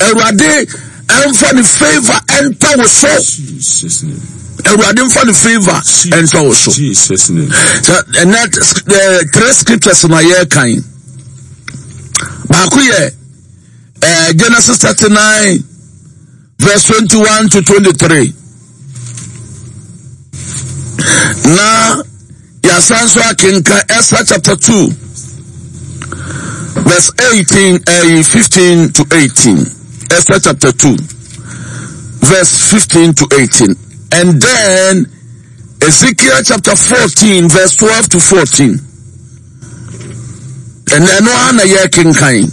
Awurade ɛmfa ne favour ɛntɔ wo so. Awurade mfa ne favour ɛntɔ wo so. Sɛ ɛnɛ eh, three scriptures na yɛrekan. Baako yɛ eh, Genesis 39 verse 21 to 23. Na yɛasan nso akenka Esther chapter 2 verse 18 uh, 15 to 18. Esther chapter 2 verse 15 to 18. And then Ezekiel chapter 14 verse 12 to 14. And ɛno ara na yɛrekenkan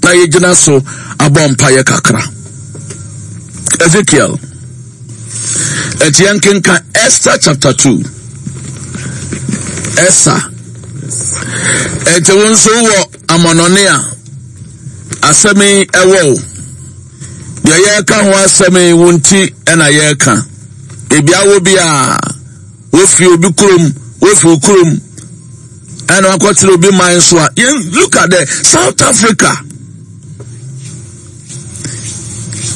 na yɛgyina so abɔ mpaeɛ kakra. Ezekiel. Ɛti yɛnkenkan Esther chapter 2. Esther. Ɛti wo nso wɔ amɔnɔne a asɛm yi ɛwɔ wo. Deɛ yɛreka ho asɛm yi wo nti ɛna yɛreka. Ebi awɔ bi a wofi obi kurom, wofi wo kurom ɛna wakɔtena obi man so a yɛn look at the South Africa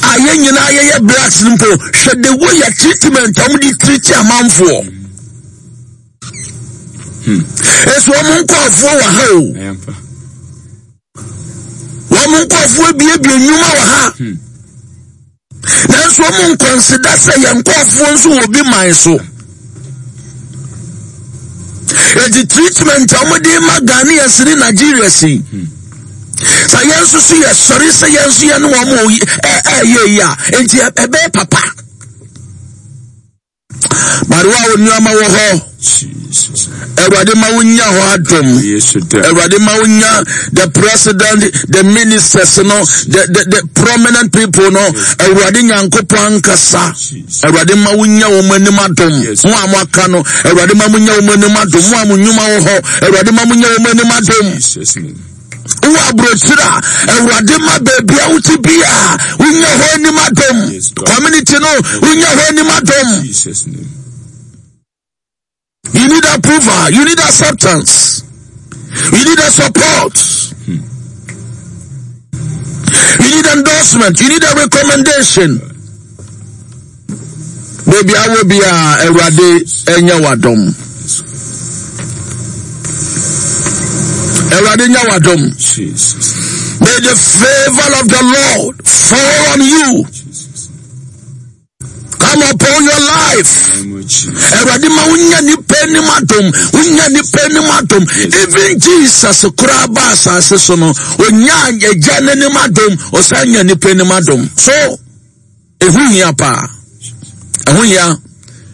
a yɛn nyinaa yɛyɛ blacks no mpo hwɛ the way yɛ treatment a wɔde treat amanfoɔ hmm. ɛso wɔn nkɔɔfoɔ wɔ ha o wɔn nkɔɔfoɔ abiebie nnwuma wɔ ha. Hmm. Nanso wɔn nkɔnsida sɛ yɛn nkurɔfoɔ nso wɔ bi man so. Eti treatment a wɔde ma Ghanaians ne Nigerians yi. Sɛ yɛn nso so yɛsɔre sɛ yɛn nso yɛne wɔn ɛyɛ yi a, enti ɛbɛyɛ papa. But wo a wo nneɛma wɔ hɔ, Awurade ma wo nya hɔ adom. Awurade ma wo nya the president, the ministers no, the, the, the prominent people no. Awurade Nyankopɔn ankasa. Awurade ma wo nya wɔn anim adom. Mo a mo aka no, Awurade ma mo nya wɔn anim adom. Mo a mo nnwuma wɔ hɔ, Awurade ma mo nya wɔn anim adom. Wowɔ aburokyire a, Awurade ma baabi a wote bi a wonya hɔ anim adom. Community no, wonya hɔ anim adom. You need approval, you need acceptance, you need a support. You need endorsement, you need a recommendation. Baabi a wɔ biara, Awurade nyɛ w'adom. Awurade nyɛ w'adom. May the favor of the Lord fall on you. Come upon your life. Awurade ma wonya nipa anim adom. Wonya nipa anim adom. Even Jesus koraa ba asase so no, onya agya n'anim adom, ɔsan nya nipa anim adom. So Ɛho hia paa. Ɛho hia.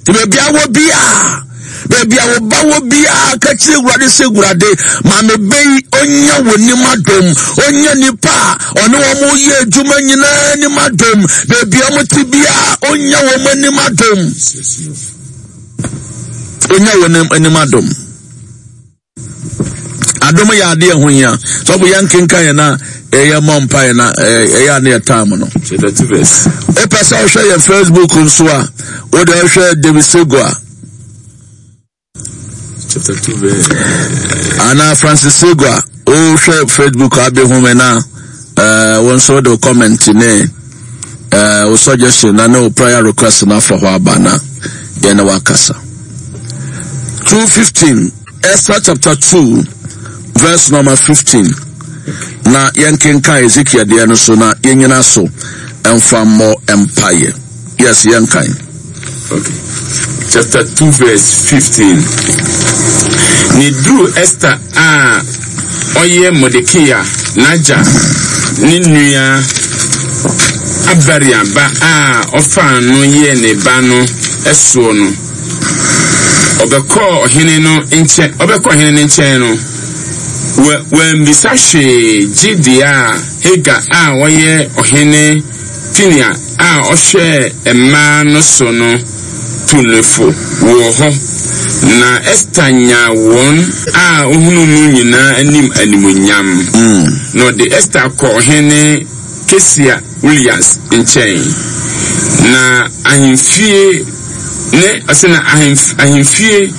Nti baabi a wɔ biara, baabi a wo ba wɔ biara, ka kyerɛ Awurade sɛ Awurade, ma me bɛ yi ɔnya wɔ nim adom, ɔnya nipa a ɔne wɔn yɛ adwuma nyinaa nim adom, baabi a wɔte biara, ɔnya wɔn anim adom. Ɔnya wɔn anim adom. Adom yɛ adeɛ ɛho hia. Sɔfo yɛn nkenkan yɛn na ɛyɛ mɔ mpa yɛn na ɛyɛ ane yɛ time no. Wopɛ sɛ ɔhwɛ yɛn Facebook nso a, wode ɔhwɛ David Segua. Ana Francis Segua, wohwɛ Facebook abɛhu me na wo nso wode comment ne wo suggestion na ne wo prayer request no afa hɔ aba na yɛne wakasa. 2:15 Esther chapter 2 verse number 15 na yɛnkenkan Ezekiel deɛ no so na yɛnyina so ɛmfa mmɔ mpaeɛ. Yes, yɛnkan. Okay. Chapter 2 verse 15. Ne duru Esther a ɔyɛ Mordekai n'agya ne nua Abaria ba a ɔfaa no yɛɛ ne ba no soɔ no, ɔbɛkɔɔ ɔhene no nkyɛn, ɔbɛkɔ ɔhene no nkyɛn no, wammisa hwee gye deɛ a Hegai a ɔyɛ ɔhene Pinia a ɔhwɛ mmaa no so no tu no fo wɔ hɔ, na Ester nyaa wɔn a ohunuu no nyinaa anim animuonyam. Na ɔde Ester kɔɔ ɔhene Kesia Ulias nkyɛn, na ahemfie ne ɔsɛ na ahemfie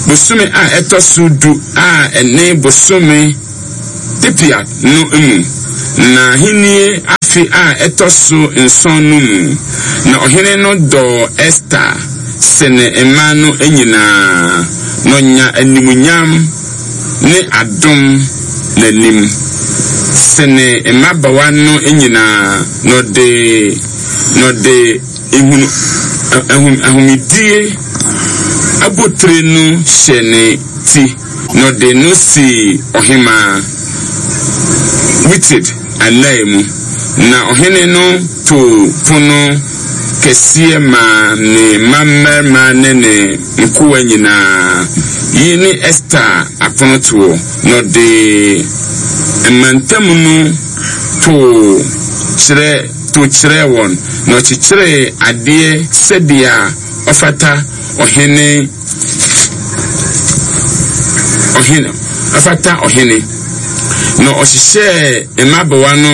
bosome a ɛtɔ so du a ɛne bosome Tipia no mu, na ahenni afe. afe a ɛtɔ so nson no mu. Na ɔhene no dɔɔ Ester sene mmaa no nyinaa, na ɔnya animuonyam ne adom n'anim sene mmabaawa no nyinaa, na ɔde na ɔde ehunu ahom ahomedie abotire no hyɛ ne ti, na ɔde no sii ɔhemmaa Wited ananmu. Na ɔhene no too pono kɛseɛ maa ne mmammarima ne ne nkoa nyinaa. Yei ne Ester aponotoɔ. Na ɔde mmantam no too kyerɛ to kyerɛɛ wɔn, na ɔkyekyeree adeɛ sɛdeɛ ɔfata ɔhene ɔhene ɔfata ɔhene. Na ɔhyehyɛɛ mmabawa no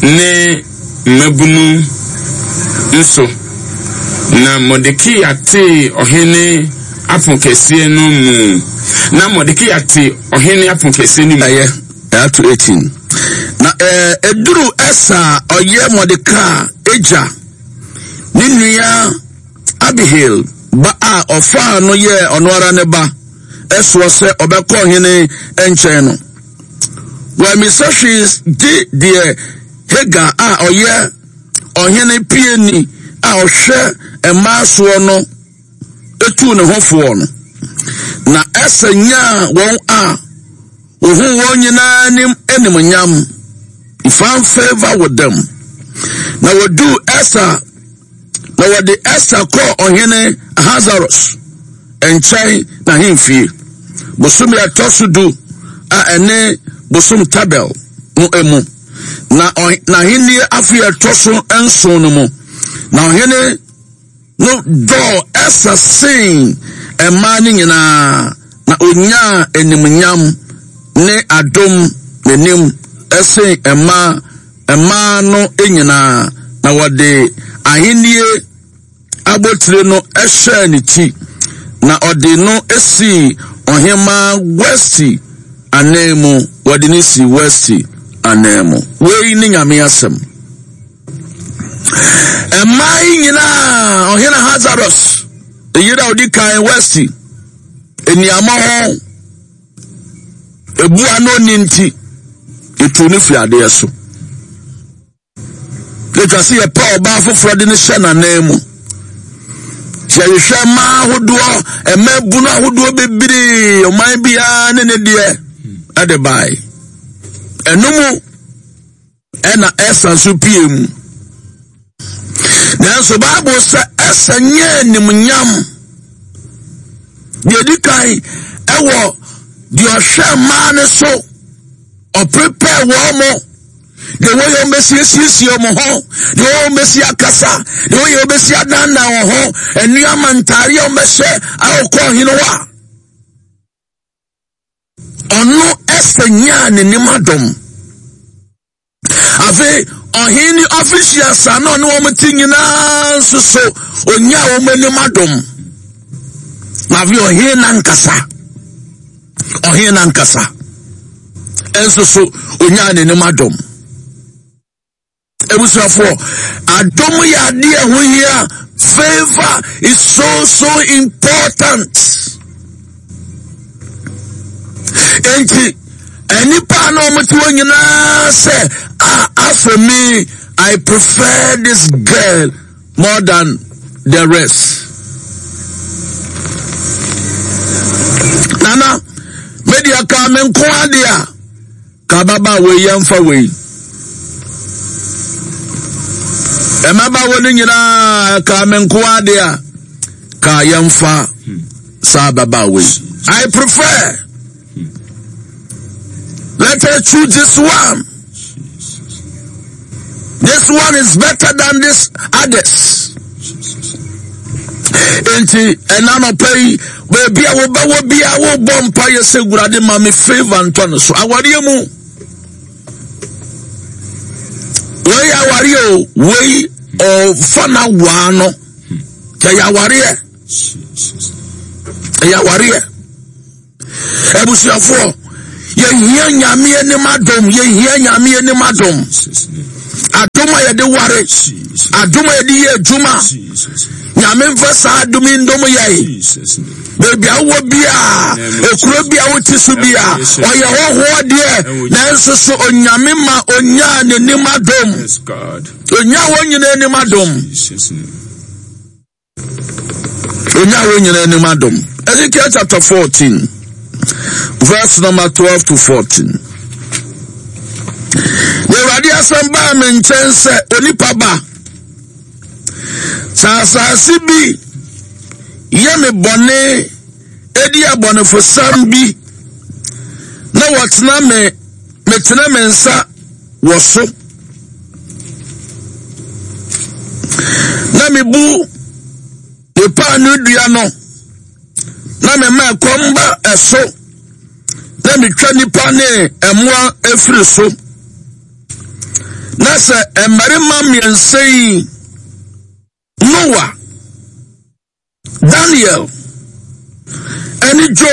ne mmabunu nso. Na Mordekai tee ɔhene aponkɛseɛ no mu. Na Mordekai te ɔhene aponkɛseɛ no mu. Ɛyɛ, ɛato 18. Na ɛduru Ɛsa a ɔyɛ Mordekai agya ne nua Abihail ba a ɔfaa no yɛɛ ɔno ara ne ba soɔ sɛ ɔbɛkɔ ɔhene nkyɛn no, wammisa hwee gye deɛ Hegai a ɔyɛ ɔhene piani a ɔhwɛ mmaa soɔ no tuu ne ho foɔ no. Na Ester nyaa wɔn a wɔhuu wɔn nyinaa anim animuonyam. He found favor with them. Na wɔduu Ester Na wɔde Ester kɔɔ ɔhene Ahasweros nkyɛn n'ahemfie, bosome a ɛtɔ so du a ɛne bosom Tabel no mu, na n'ahenni afe a ɛtɔ so nson no mu. Na ɔhene no dɔɔ Ester sen mmaa no nyinaa, na onyaa animuonyam ne adom n'anim sen mmaa mmaa no nyinaa, na wɔde ahennie abotire no hyɛɛ ne ti, na ɔde no sii ɔhemmaa Wasti ananmu, wɔde no sii Wasti ananmu. Wei ne Nyame asɛm. Mmaa yi nyinaa, ɔhene Ahasweros, yere a ɔdi kan Wasti, nneɛma ho Ebu a na onni nti, yɛtuu no firi adeɛ so. Yɛtwa sɛ yɛpɛ ɔbaa foforɔ de no hyɛ n'anan mu. Sɛ yɛhwehwɛ mmaa ahodoɔ, mmaa bunu ahodoɔ bebree, ɔman biara ne ne deɛ ɛde bae. Ɛno mu ɛna Ɛsa nso pie mu. Nanso Bible sɛ Ɛsa nyɛ animnyam. Deɛ ɛdi kan ɛwɔ deɛ ɔhwɛ mmaa no so, ɔprepare wɔn mo, deɛ wɔyɛ wɔn bɛsi asiesie wɔn ho, deɛ wɔyɛ wɔn bɛsi akasa, deɛ wɔyɛ wɔn bɛsi adandan wɔn ho, nneɛma ntaare a wɔn bɛhyɛ a wɔkɔ ɔhene hɔ a. Ɔno Ester nyaa n'anim adom. Afei ɔhene ne officials a na ɔne wɔn te nyinaa nso so onyaa wɔn anim adom. Na afei ɔhene nankasa, ɔhene nankasa nso so onyaa n'anim adom. Abusuafoɔ, adom yɛ adeɛ ɛho hia. Favor is so so important. Enti, nnipa na wɔn te hɔ nyinaa sɛ, ah, as for me, I prefer this girl more than the rest. Nana, media ka me nko adeɛ a. Ka ababaawa wei yɛmfa wei. Mmabaawa no nyinaa ka me nko ade a ka yɛmfa saa ababaawa wei. I prefer. Let us choose this one. This one is better than this others. Enti ɛna nɔpɛ yi baabi a wobɛwɔ bia wobɔ mpa yɛ sɛ wurade ma me favor ntɔ no so awareɛ mu. Wei awareɛ o wei ɔfa na waa no ɛyɛ awareɛ ɛyɛ awareɛ. Abusuafoɔ, yɛhia Nyame anim adom, yɛhia Nyame anim adom. Adom a yɛde ware, adom a yɛde yɛ adwuma. Nyame mfa saa adom yi ndom yɛn. Baabi a wowɔ biara, ekuro bi a wote so biara, ɔyɛ hɔhoɔ deɛ, nanso so Onyame ma onyaa n'anim adom. Onyaa wɔn nyinaa anim adom. Onyaa wɔn nyinaa anim adom. Ezekiel chapter 14, verse number 12 to 14. Na Awurade asɛm baa me nkyɛn sɛ onipa ba, sɛ asase bi yɛ me bɔne edi abɔnefosɛm bi na wɔtena me metene me nsa wɔ so na mebu ne paanoo dua no na mema ɛkɔm ba ɛso na metwa nnipa ne mmoa afiri so na sɛ mmarima mmiɛnsa yi Noa, Daniel, ɛne Job.